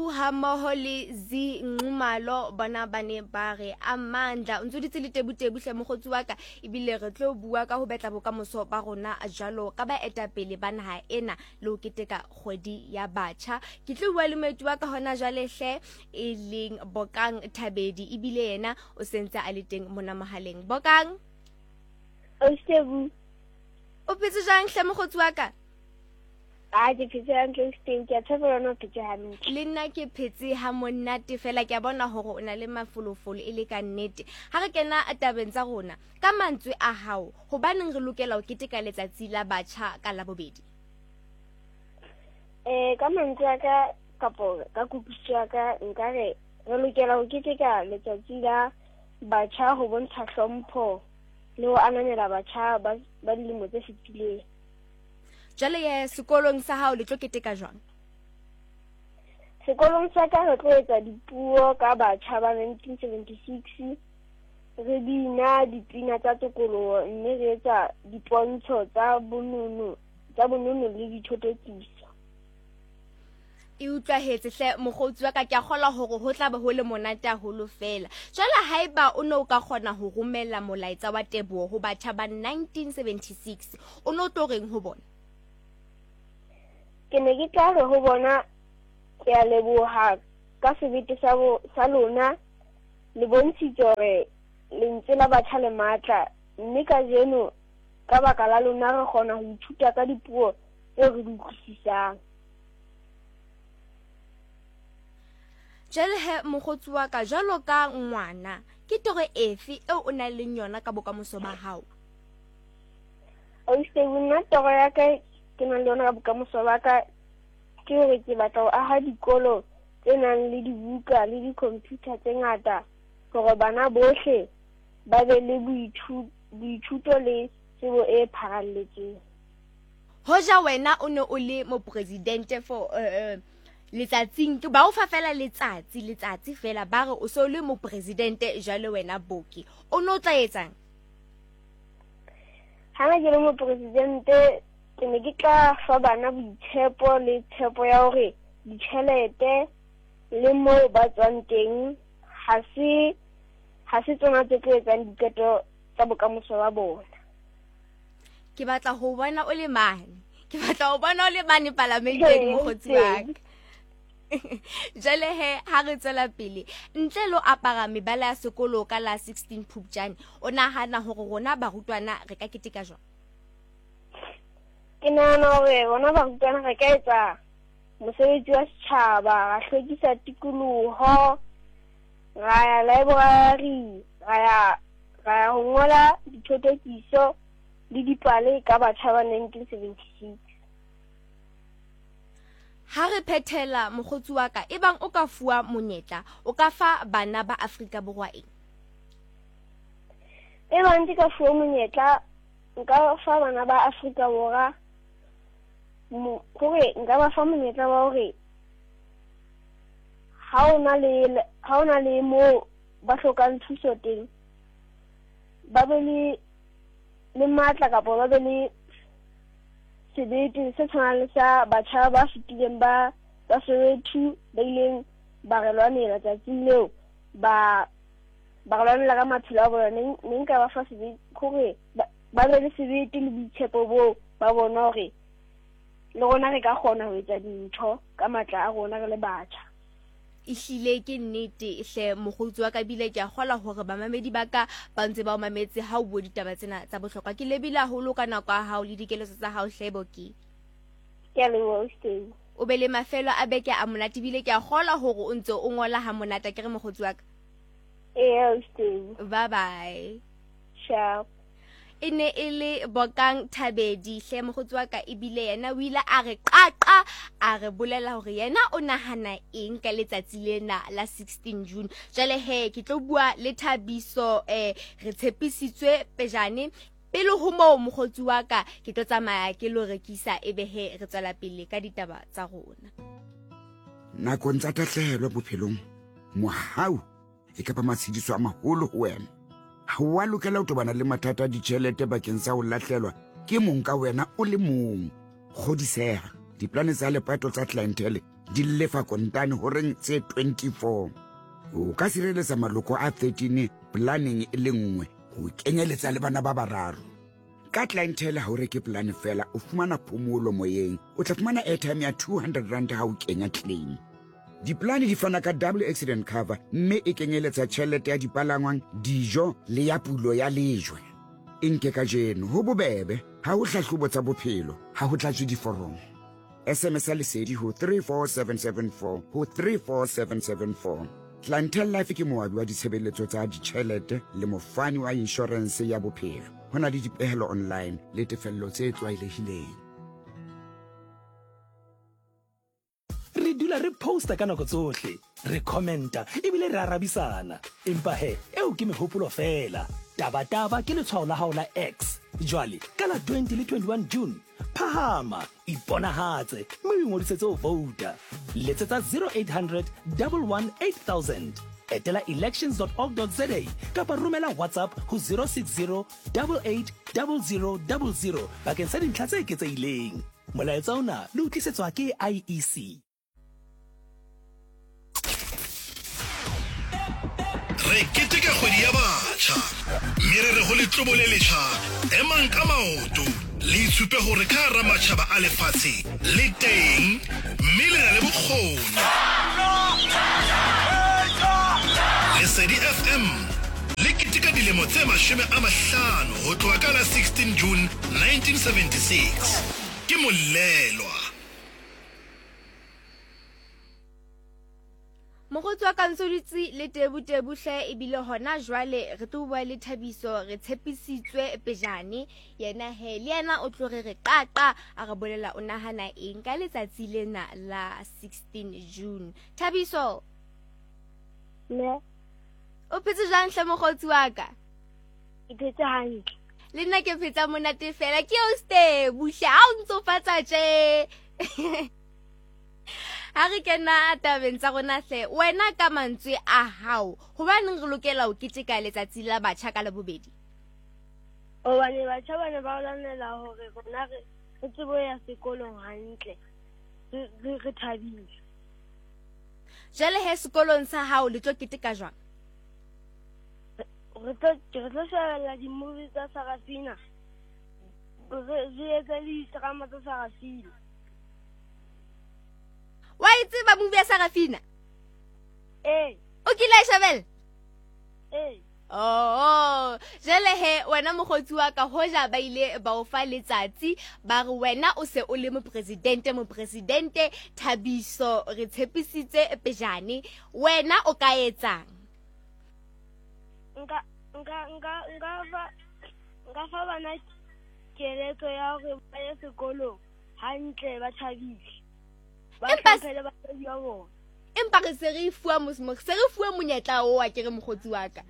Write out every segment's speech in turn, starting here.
Tebu hammoho le Z Nxumalo bona ba ne ba re Amandla. O ntse o dutse le Tebu Tebu hle mokgotsi wa ka, ebile re tlo bua ka ho betla bokamoso ba rona jwalo ka baetapele ba naha ena le ho keteka kgwedi ya batjha. Ke tlo bua le moeti wa ka hona jwale hle, e leng Bokang Thabedi, ebile yena o sentse a le teng mona mohaleng. Bokang, Ausi Tebu. O phetse jwang hle mokgotsi wa ka? A ke phetse hantle Ausi, ke a tshepa le wena o phetse hantle. Le nna ke phetse ha monate fela, ke a bona hore o na le mafolofolo e le ka nnete. Ha re kena tabeng tsa rona, ka mantswe a hao, hobaneng re lokela ho keteka letsatsi la batjha ka Labobedi? Ka mantswe a ka kapo ka kutlwisiso ya ka, nka re re lokela ho keteka letsatsi la batjha ho bontsha hlompho le ho ananela batjha ba dilemo tse fetileng. Jwale ye sekolong sa hao le tlo keteka jwang? Sekolong sa ka re tlo etsa dipuo ka batjha ba 1976, re bina dipina tsa tokoloho mme re etsa dipontsho tsa bonono le dithotokiso. E utlwahetse hle mokgotsi wa ka, ke a kgolwa hore ho tla be ho le monate haholo fela. Jwale haeba o ne o ka kgona ho romela molaetsa wa teboho ho batjha ba 1976, o ne o tlo reng ho bona? Ke ne ke tla re ho bona, ke a leboha ka sebete sa lona, le bontshitse hore lentswe la batjha le matla, mme kajeno ka baka la lona re kgona ho ithuta ka dipuo tseo re di utlwisisang. Jwale he mokgotsi wa ka, jwalo ka ngwana, ke toro efe eo o nang le yona ka bokamoso ba hao? Ausi, nna toro ya ka ke nang le yona ka bokamoso ba ka ke hore ke batla ho aha dikolo tse nang le dibuka le di-computer tse ngata hore bana bohle ba be le boithuto le tsebo e pharalletseng. Hoja wena o ne o le mopresidente for letsatsing, ke ba o fa fela letsatsi fela, ba re o so le mopresidente jwale wena Boki, o ne o tla etsang? Ha ne ke le mopresidente, ke ne ke tla fa bana boitshepo le tshepo ya hore ditjhelete le moo ba tswang teng ha se tsona tse tlo etsang diqeto tsa bokamoso ba bona. Ke batla ho bona o le mane. Ke batla ho bona o le mane palamenteng, mokgotsi wa ka. Jwale he ha re tswela pele, ntle le ho apara mebala ya sekolo ka la 16 Phupjane, o nahana hore rona barutwana re ka keteka jwang? Ke nahana hore rona barutwana re ka etsa mosebetsi wa setjhaba, ra hlwekisa tikoloho, ra ya library, ra ya ho ngola dithotokiso le dipale ka batjha ba 1976. Ha re phethela mokgotsi wa ka, ebang o ka fuwa monyetla, o ka fa bana ba Afrika Borwa eng? Ebang ke ka fuwa monyetla, nka fa bana ba Afrika Borwa hore nka ba fa monyetla wa hore ha o na le moo ba hlokang thuso teng, ba be le matla kapa ba be le sebete se tshwanang le sa batjha ba fetileng ba Soweto ba ileng ba re lwanela tsatsing leo, ba re lwanela ka maphelo a bona. Ne nka ba fa sebete hore ba be le sebete le boitshepo boo ba bona hore le rona re ka kgona ho etsa dintho ka matla a rona re le batjha. Ehlile ke nnete hle mokgotsi wa ka, bile ke a kgolwa hore bamamedi ba ka ba ntse ba o mametse ha o bua ditaba tsena tsa bohlokwa. Ke lebile haholo ka nako ya hao le dikeletso tsa hao hle Boki. Ke a leboha, Ausi. O be le mafelo a beke a monate, bile ke a kgolwa hore o ntse o ngola ha monate, ke re mokgotsi wa ka? Ee, Ausi. Bye bye. Ciao. E ne e le Bokang Thabedi hle mokgotsi wa ka, ebile yena o ile a re qaqa, a re bolela hore yena o nahana eng ka letsatsi lena la 16 June. Jwale he ke tlo bua le Thabiso, re tshepisitswe pejane. Pele ho moo mokgotsi wa ka, ke tlo tsamaya ke lo rekisa, ebe he re tswela pele ka ditaba tsa rona. Nakong tsa tahlehelo bophelong, mohau e ka ba matshediso a maholo ho wena. Ha o a lokela ho tobana le mathata a ditjhelete bakeng sa ho lahlelwa ke mong ka wena o le mong. Kgodiseha, diplane tsa lepato tsa clientele di lefa kontane horeng tse 24. O ka sireletsa maloko a 13 polaneng e le nngwe ho kenyeletsa le bana ba bararo. Ka Clientele ha o reke polane fela, o fumana phomolo moyeng. O tla fumana airtime ya 200 rand ha o kenya claim. Dipolane di fana ka double accident cover mme e kenyeletsa tjhelete ya dipalangwang, dijo le ya pulo ya lejwe. E nke kajeno, ho bobebe, ha ho hlahlobo tsa bophelo, ha ho tlatswe diforomo. SMS ya Lesedi ho 34774 ho 34774. Clientele Life ke moabi wa ditshebeletso tsa ditjhelete le mofani wa inshorense ya bophelo. Ho na le dipehelo online le tefello tse tlwaelehileng. Re dula re posta ka nako tsohle, re commenta ebile re arabisana. Empa he, eo ke mehopolo feela. Tabataba ke letshwao la hao la X. Jwale, ka la 20 le 21 June, phahama, iponahatse mme o ingodisetse ho vouta. Letsetsa 0800 11 8000. Etela elections.org.za kapa romela WhatsApp ho 060 88 00 00 bakeng sa dintlha tse eketsehileng. Molaetsa ona le o tlisetswa ke IEC. Re keteka kgwedi ya batjha mme re re ho letlobo le letjha, emang ka maoto le itshupe hore ka hara matjhaba a lefatshe le teng mme le na le bokgoni. Lesedi FM le keteka dilemo tse 50 ho tloha ka la 16 June 1976. Ke Molelwa. Mokgotsi wa ka ntse o dutse le Tebu Tebu hle ebile hona jwale re tlo bua le Thabiso re tshepisitswe pejane yena he le yena o tlo re re qaqa a re bolela o nahana eng ka letsatsi lena la 16 June. Thabiso Ne. O phetse jwang hle mokgotsi wa ka? Ke phetse hantle. Le nna ke phetsa monate fela ke o Stebu hle ha o ntsofatsa tje. Ha re kena tabeng tsa rona hle, wena ka mantswe a hao, hobaneng re lokela ho keteka letsatsi la batjha ka Labobedi? Hobane batjha ba ne ba lwanela hore rona re re tsebe ho ya sekolong hantle, re re re thabile. Jwale he sekolong sa hao le tlo keteka jwang? Re tlo re tlo shebella di-movie tsa Sarafina, re re etse le di-drama tsa Sarafina. Wa e tseba movie ya Sarafina? Ee. O kile a e shebella? Ee. Oh, jale he wena mokgotsi wa ka hoja ba ile ba o fa letsatsi ba re wena o se o le mopresidente mopresidente Thabiso re tshepisitse pejane wena o ka etsang? Nka nka nka nka fa nka fa bana keletso ya hore ba ye sekolong hantle ba thabile. Ba Empa hlomphe le batswadi ba bona. Empa re se re fuwa mos se re fuwe monyetla o wa ke re mokgotsi wa ka.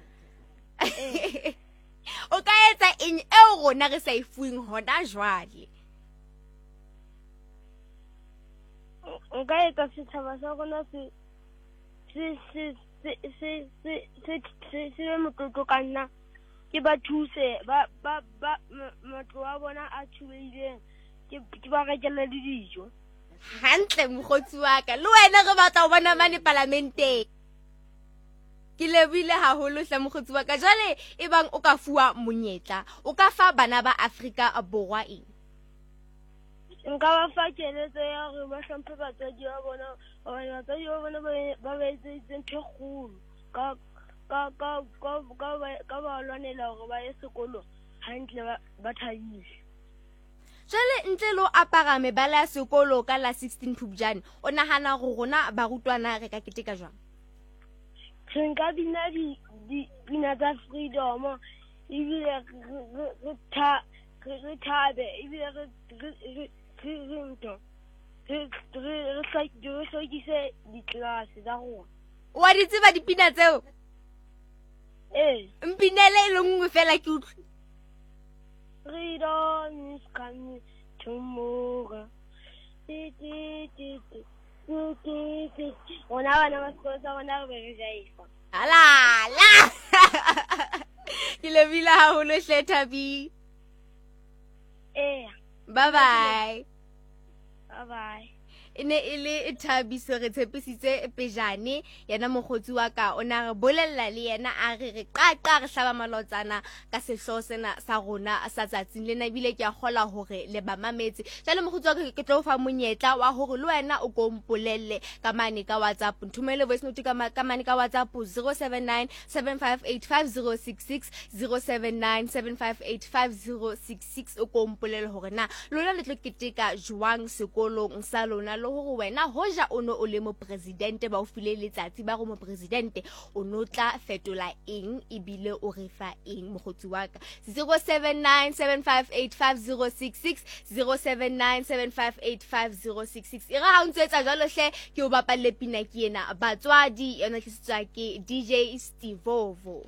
O ka etsa eng eo rona re sa e fuweng hona jwale? Nka etsa setjhaba sa rona se se se se se se se se se be motlotlo ka nna ke ba thuse ba ba ba matlo a bona a thubehileng ke ke ba rekele le dijo. Hantle mokgotsi wa ka le wena re batla ho bona mane palamenteng. Ke lebohile haholo hle mokgotsi wa ka. Jwale e bang o ka fuwa monyetla o ka fa bana ba Afrika Borwa eng? Nka ba fa keletso ya hore ba hlomphe batswadi ba bona hobane batswadi ba bona ba ba etseditse ntho e kgolo ka ka ka ka ka ka ba lwanela hore ba ye sekolong hantle ba ba thabile. Jwale ntle le ho apara mebala ya sekolo ka la 16 Phupjane, o nahana hore rona barutwana re ka keteka jwang? Re nka bina di dipina tsa freedom ebile re tha re thabe ebile re re re re ntho re re re hlwekise ditlelase tsa rona. Wa di tseba dipina tseo? Ee. Mpinele e le nngwe fela ke utlwe. Freedom is coming tomorrow. Ti, ti, ti, ti, ti, ti, ti. Rona bana ba sekolo sa rona re be re jaifa. Ala la. Ke lebohile haholo hle Thabi. Eya. Bye bye. Bye bye. E ne e le Thabiso re tshepisitse pejane yena mokgotsi wa ka o ne a re bolella le yena a re re qaqa re hlaba malotsana ka sehlooho sena sa rona sa tsatsing lena ebile ke a kgola hore le ba mametse. Jwale mokgotsi wa ka ke tlo fa monyetla wa hore le wena o ko mpolelle ka mane ka WhatsApp. Nthomele voice note ka mane ka WhatsApp 079 758 5066 079 758 5066 o ko mpolele hore na lona le tlo keteka jwang sekolong sa lona le hore wena hoja o ne o le mopresidente ba o file letsatsi ba re mopresidente o no tla fetola eng ebile o re fa eng mokgotsi wa ka. 079 758 5066 079 758 5066 e re ha o ntse etsa jwalo hle ke o bapalle pina ke ena batswadi yona tlisitswa ke DJ Stevovo.